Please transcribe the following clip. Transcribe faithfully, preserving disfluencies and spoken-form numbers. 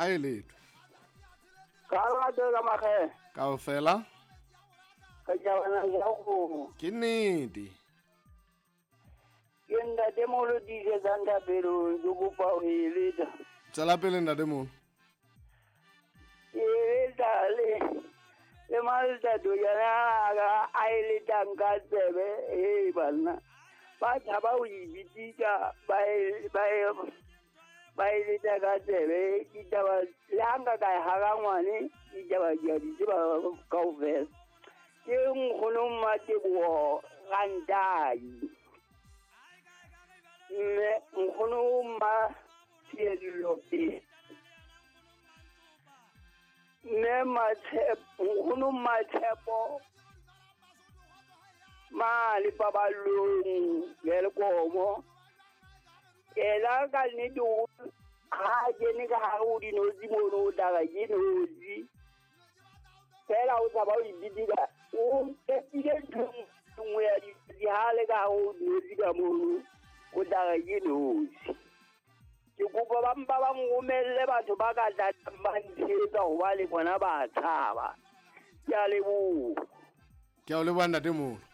Ha e letho. Ka rato ka makge. Kaofela. Ka jabana ya go. Ke nnete. Ke ntate moholo tiisetsang thapelong ke kopa ho e leta. Tswela pele ntate moholo. Ke leta le le maltato yana a e letang ka tsebe e banna. Ba tshaba ho e bitsitsa ba e ba e ba e leta ka tsebe ditaba le ha nka ka e hara ngwane ditaba di a di tseba kaofela. Ke nkgono Mmateboho Rantai. Mme nkgono Mmatshedilo Pele. Mme Matshepo nkgono Mmatshepo mane paballong Welkomo. Ela ka nnete o ha a kene ka hare ho dinotshi mono o tla re ke notshi. Fela o tshaba ho ibitika o qetile ntho e nngwe ya dinotshi ha le ka hare ho dinotshi ka mono o tla re ke notshi. Ke kopa ba mpa ba nromelle batho ba ka tlang ba ntshehetsa hobane bona ba tshaba. Ke a leboha. Ke a o leboha ntate moholo.